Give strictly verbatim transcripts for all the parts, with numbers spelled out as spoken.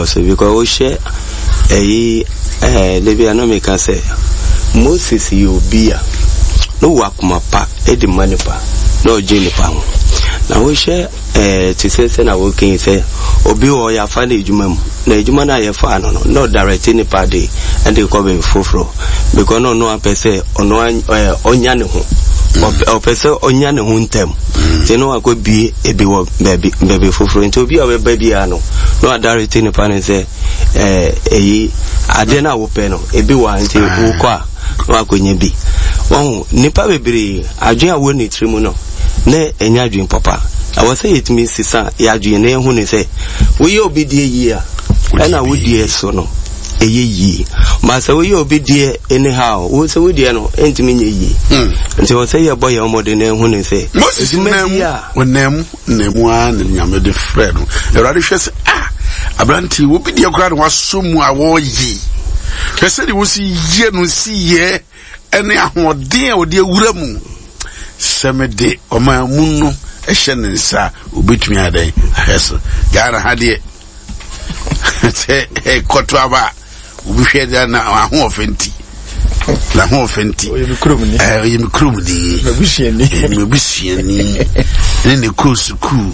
So because wohyɛ ɛyi ɛɛ debi a na meka sɛ Moses yɛ obi a na ɔwɔ akoma pa de ma nipa na ɔgye nipa ho. Na wohyɛ ɛɛ te sɛ sɛ na wɔka yi sɛ obi wɔ hɔ yɛafa no adwuma mu na adwuma no a yɛfaa no no na ɔdirect nipa de ɛde kɔ baabi foforɔ because na ɔno apɛ sɛ ɔno ɛɛ ɔnya ne ho ɔpɛ sɛ ɔnya ne ho ntɛm nti na wakɔ bie ebi wɔ baabi baabi foforɔ nti obi a ɔbɛba biara no na wadirect nipa no sɛ ɛɛ eyi adeɛ no a wopɛ no ebi wɔ ha nti wokɔ a na wakɔnya bi. Wɔn nipa bebree adwene a wɔ ne tiri mu no na ɛnyɛ adwene papa. Ɛwɔ sɛ yɛtumi sesa yɛ adwene na yɛhu ne sɛ woyɛ obi deɛ yie a ɛna wo deɛ so no ɛyɛ yie. Ma sɛ woyɛ obi deɛ anyhow wo sɛ wo deɛ no ɛntumi nyɛ yie. Nti wɔ sɛ yɛbɔ yɛn mmɔden na ɛhu ne sɛ Moses adwuma nam bi a ɔnam nam ara na Nyame de frɛ no. Awurade hwɛ sɛ ah aberante obi deɛ koraa na wasɔ mu a wɔreyɛ. Hwɛ sɛdeɛ wosi yɛ no si yɛ ɛne ahoɔden a wɔde awura mu. Sɛ mede ɔman mu no ɛhyɛ ne nsa a obetumi adɛn ahwɛ so. Ghana ha deɛ sɛ ɛkɔto aba a obi hwɛ deɛ na ahoɔfɛ nti na ahoɔfɛ nti Ɔyɛ me kurom ni. ɛɛ ɔyɛ me kurom ni. M'abusuani. M'abusuani ne ne kɔ sukuu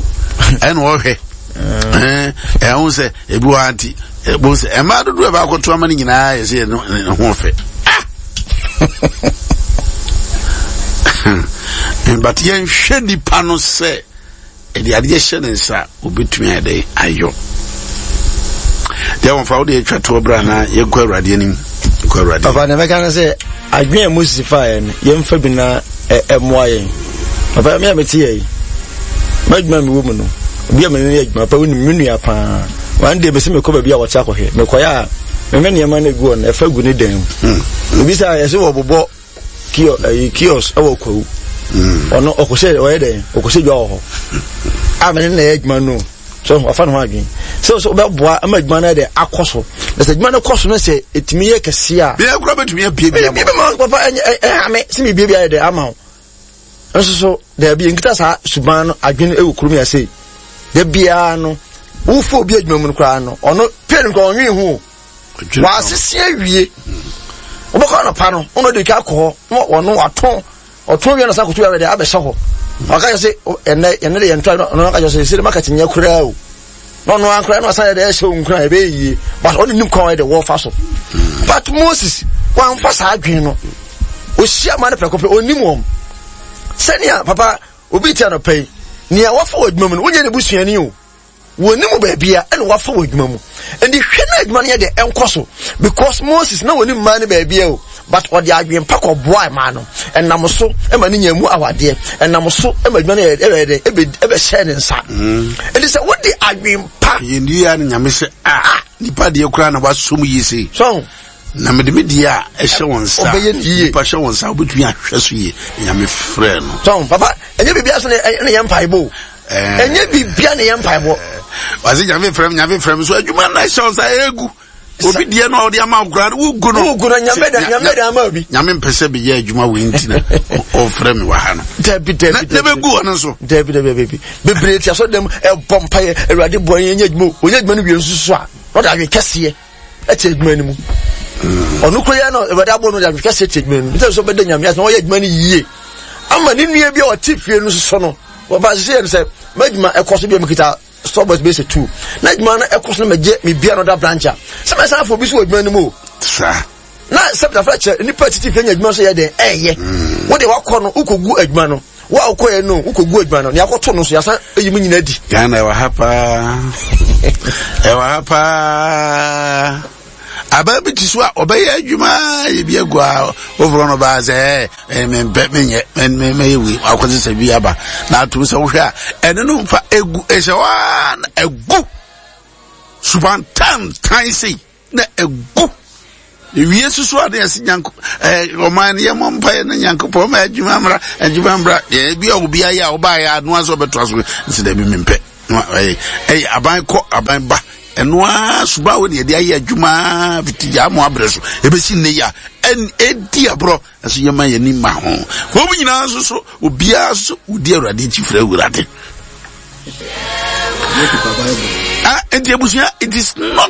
ɛna ɔhwɛ ɛɛ ɛho sɛ ebi wɔ ha nti ɛbo sɛ ɛmaa dodoɔ a ɛbaakɔto ama no nyinaa yɛ sɛ yɛ ne ho fɛ ah but yɛnhwɛ nipa no sɛ ɛde adeɛ hyɛ ne nsa a obetumi ayɛ dɛ ayɔ deɛ wɔn fa wo de atwa toɔ bra na yɛnkɔ Awurade anim nkɔ Awurade Papa, na mɛka no sɛ adwene a Moses faeɛ no yɛmfa bi na ɛ- ɛmmoa yɛn. Papa, me a mete yɛ yi, m'adwuma a mewɔ mu no, obi a mene no yɛ adwuma papa, wonim me nua paa. One day mɛsɛ mekɔ baabi a wɔte akɔhwɛ, mekɔyɛ a meme nneɛma no egu hɔ no ɛfa gu ne dan mu. Obi sɛ yɛsɛ wɔbobɔ kio ɛyi kiosk ɛwɔ Kwawu. Ɔno ɔkɔhyɛ ɔyɛ dɛn ɔkɔhyɛ dwa wɔ hɔ a mene na ɛyɛ adwuma no so wafa ne ho adwene sɛ sɛ wobɛboa ama adwuma no yɛ dɛ akɔ so na sɛ adwuma no kɔ so no sɛ ɛtumi yɛ kɛseɛ a bia kora bɛtumi abie bi bi ama ma papa ɛnyɛ ɛha me sɛ mebie bi ayɛ dɛ ama wo nso so daabi nkita saa suban no adwene ɛwɔ kurom yɛ sei da biara no wofo obi adwuma mu no koraa no ɔno pɛ no koraa ɔnwene ho o wasese awie wobɛkɔ anɔpa no ɔno de ka akɔ hɔ na ɔno watɔn ɔtɔn wie na sa koto awɛ de abɛhyɛ hɔ ɔka kyerɛ sɛ ɛnɛ ɛnɛ de yɛn tɔ ɔno aka kyerɛ sɛ sɛ market nyɛ koraa o na ɔno ankora na ɔsan yɛ de ɛhyɛ wo nkura ɛbɛyɛ yie but ɔno nim kwan yɛ de wɔfa so. But Moses wamfa saa adwene no ohyia ma no prɛko pɛ onim wɔn sɛnea papa obi ti anɔpa yi nea wafa wɔ adwuma mu no wonyɛ ne busuani o wɔnim baabi a ɛna wafa wɔ adwuma mu nti hwɛ na adwuma no yɛ de ɛnkɔ so because Moses na wɔnim mmaa no baabi a o but ɔde adwene pa kɔ boa mmaa no ɛnam so ɛma ne nya mu awadeɛ ɛnam so ɛma adwuma no yɛ ɛbɛ dɛ ɛbɛ ɛbɛhyɛ ne nsa nti sɛ wode adwene pa yɛn no Nyame sɛ ah nipa deɛ koraa na wasɔ mu yie sei so na mede me deɛ a ɛhyɛ wɔn nsa Ɔbɛyɛ ne yie. nipa hyɛ wɔn nsa wobɛtumi ahwɛ so yie Nyame frɛ no so papa ɛnyɛ biribi so na ɛna yɛ mpaebɔ o ɛnyɛ biribia na yɛ mpaebɔ wase Nyame frɛ m Nyame frɛ m so adwuma no ɛhyɛ wɔn nsa ɛgu obi deɛ no a ɔde ama wo koraa no wogu no wogu no Nyame da Nyame da ama obi Nyame mpɛ sɛ meyɛ adwuma wei nti na ɔfrɛ me wɔ ha no dabi dabi na na bɛgu hɔ no nso dabi dabi dabi bebree ti asɔ dɛm ɛbɔ mpaeɛ Awurade bɔ yɛn nyɛ adwuma o onyɛ adwuma no wie nso so a na ɔde adwene kɛseɛ ɛte adwuma no mu ɔno kuro yɛ no Awurade abɔ no de adwene kɛseɛ te adwuma no mu nti sɛ ɔbɛda Nyame ase na ɔyɛ adwuma no yie ama ne nua bi a ɔte fie no soso no wɔba sɛ yɛ no sɛ m'adwuma ɛkɔ so bi a mekita store boys bɛsɛ two na adwuma no ɛkɔ so no magye mebia no da branch a sɛ mɛsan afɔ bi so wɔ adwuma no mu o saa na sɛ pɛtafra kyerɛ nipa titi fie nya adwuma so yɛ den ɛyɛ wode wakɔ no wokɔgu adwuma no wo a wokɔɛ no wokɔgu adwuma no nea akɔto no so yɛasan ayi mu nyina di Ghana ɛwɔ ha paa ɛwɔ ha paa abaa bi te so a ɔbɛyɛ adwuma yɛ bi agu a woforɔ no baa sɛ ɛ mempɛ menyɛ mɛyɛ wei akɔse sɛ bi aba na atom sɛ wohwɛ a ɛne no mfa ɛgu ɛhyɛ hɔ a na ɛgu suban tantan sei na ɛgu ewie soso a na yɛsi nyanko ɛɛ ɔman no yɛmɔ mpaeɛ na Nyankopɔn ɔma adwuma mmra adwuma mmra ɛɛ bi a obi ayɛ a ɔbaayɛ anoa sɛ ɔbɛtoa so nsi dɛbi mempɛ ɛyɛ ɛyɛ aban kɔ aban ba ɛnoa suba wo ne yɛde ayɛ adwuma fiti gya mo abrɛ so ebesi nne yi a ɛn edi aborɔ ɛso yɛma yɛn ni ma ho wɔn nyinaa nso so obiara nso wodi Awurade akyi fira Awurade. Ah, nti abusua, it is not